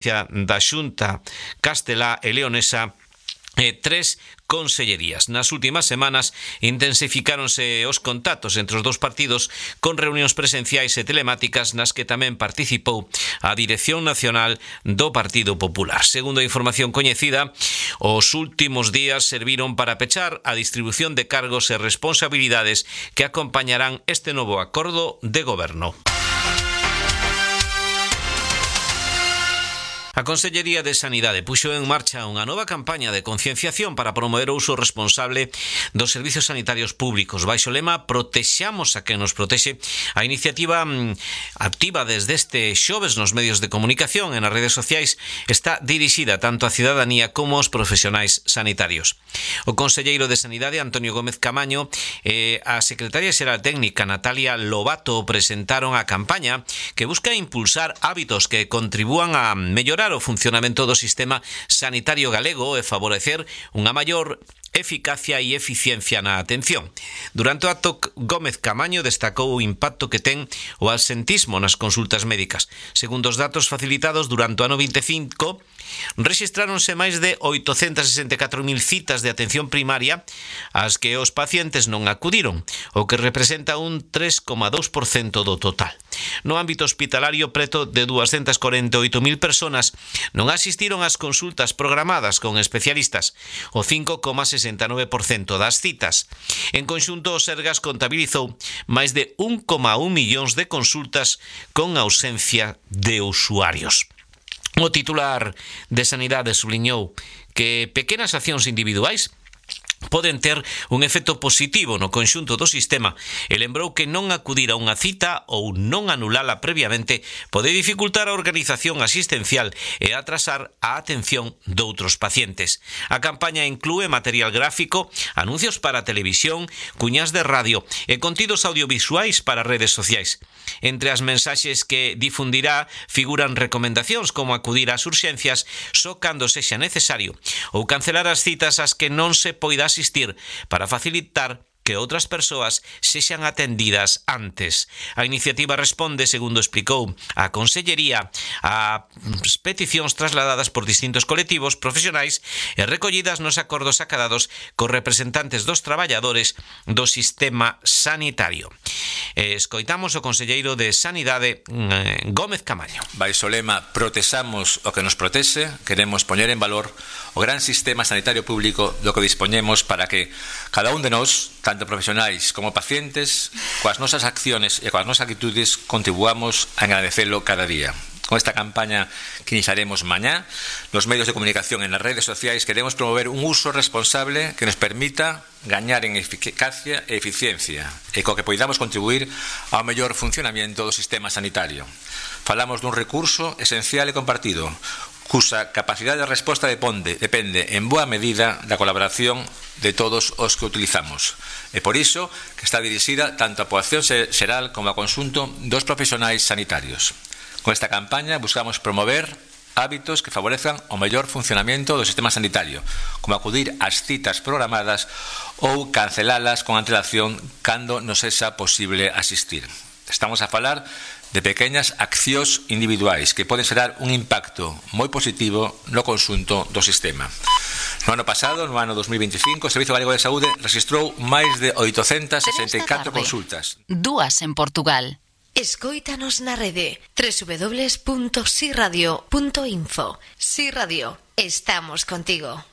da Xunta Castelá e Leonesa 3 consellerías. Nas últimas semanas intensificáronse os contactos entre os dous partidos con reunións presenciais e telemáticas nas que tamén participou a Dirección Nacional do Partido Popular. Segundo a información coñecida, os últimos días serviron para pechar a distribución de cargos e responsabilidades que acompañarán este novo acordo de goberno. A Consellería de Sanidade puxo en marcha unha nova campaña de concienciación para promover o uso responsable dos servizos sanitarios públicos. Baixo o lema "Protexamos a quen nos protexe", a iniciativa activa desde este xoves nos medios de comunicación e nas redes sociais está dirixida tanto á cidadanía como aos profesionais sanitarios. O conselleiro de Sanidade, Antonio Gómez Camaño, e a secretaria xeral técnica, Natalia Lobato, presentaron a campaña que busca impulsar hábitos que contribúan a mellorar o funcionamento do sistema sanitario galego e favorecer unha maior eficacia e eficiencia na atención. Durante o acto, Gómez Camaño destacou o impacto que ten o absentismo nas consultas médicas. Segundo os datos facilitados durante o ano 25, rexistráronse máis de 864.000 citas de atención primaria ás que os pacientes non acudiron, o que representa un 3,2% do total. No ámbito hospitalario, preto de 248.000 personas non asistiron ás consultas programadas con especialistas, o 5,69% das citas. En conxunto, o Sergas contabilizou máis de 1,1 millóns de consultas con ausencia de usuarios. O titular de Sanidade subliñou que pequenas accións individuais poden ter un efecto positivo no conxunto do sistema e lembrou que non acudir a unha cita ou non anulala previamente pode dificultar a organización asistencial e atrasar a atención doutros pacientes. A campaña inclúe material gráfico, anuncios para televisión, cuñas de radio e contidos audiovisuais para redes sociais. Entre as mensaxes que difundirá figuran recomendacións como acudir ás urxencias só cando sexa necesario ou cancelar as citas ás que non se poida asistir para facilitar que outras persoas sexan atendidas antes. A iniciativa responde, segundo explicou a Consellería, a peticións trasladadas por distintos colectivos profesionais e recollidas nos acordos acadados cos representantes dos traballadores do sistema sanitario. Escoitamos o conselleiro de Sanidade, Gómez Camaño. Baixo o lema "Protexamos o que nos protexe", queremos poñer en valor o gran sistema sanitario público do que dispoñemos para que cada un de nós, tanto profesionais como pacientes, coas nosas acciones e coas nosas actitudes contribuamos a engradecelo cada día. Con esta campaña que iniciaremos mañá nos medios de comunicación e nas redes sociais queremos promover un uso responsable que nos permita gañar en eficacia e eficiencia e co que poidamos contribuir ao mellor funcionamento do sistema sanitario. Falamos dun recurso esencial e compartido, cusa capacidade de resposta depende en boa medida da colaboración de todos os que utilizamos. E por iso que está dirixida tanto á poboación xeral como ao conxunto dos profesionais sanitarios. Con esta campaña buscamos promover hábitos que favorezcan o mellor funcionamento do sistema sanitario, como acudir ás citas programadas ou cancelalas con antelación cando nos sexa posible asistir. Estamos a falar de pequeñas accións individuais que poden xerar un impacto moi positivo no conxunto do sistema. No ano pasado, no ano 2025, o Servizo Galego de Saúde registrou máis de 864 consultas. 2 en Portugal. Escóitanos na rede www.siradio.info. Si Radio, estamos contigo.